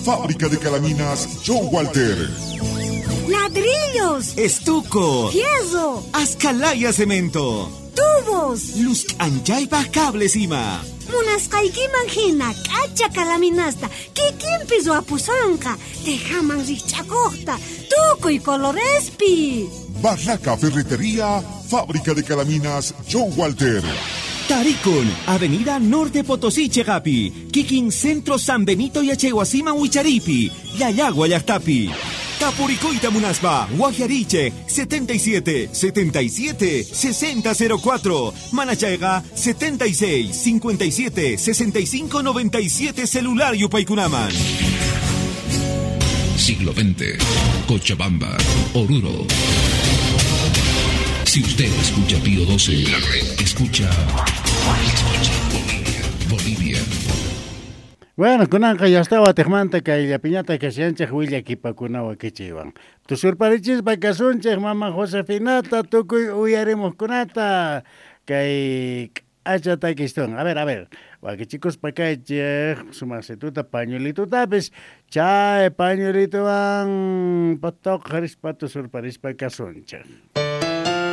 Fábrica de Calaminas, John Walter. Ladrillos. Estuco. Fierro. Ascalaya cemento. Tubos. Luz anchaypa cables ima. Munasqaykiman hina k'acha kalaminasta kikinpi ruwapusunqa tejaman rikch'akuqta tukuy colorespi. Barraca Ferretería, Fábrica de Calaminas, John Walter. Tarikun, Avenida Norte Potosí, Chegapi, Kikin Centro San Benito y Achehuasima Huicharipi, Yayagua Yachtapi. Tapuricoita Munaspa, Guajiariche, 77 77 6004, Manachaiga, 76 57 65 97 Celular Yupaycunaman. Siglo XX, Cochabamba, Oruro. Si usted escucha Pío 12, la red escucha. Escucha Bolivia, Bolivia. Bueno, kunanqa yastawa tiqmanta kay llapiñata kashanchik willakipakunawan kichiwan. Tusurparichispa kasunchik mama Josefinata tukuy uyarimuqkunata kay k'acha takistun. A ver, a ver. Wakichikuspa kaychik sumaqsituta pañuelitutapis chay pañuelituwan patoqarispa tusurparispa kasunchik.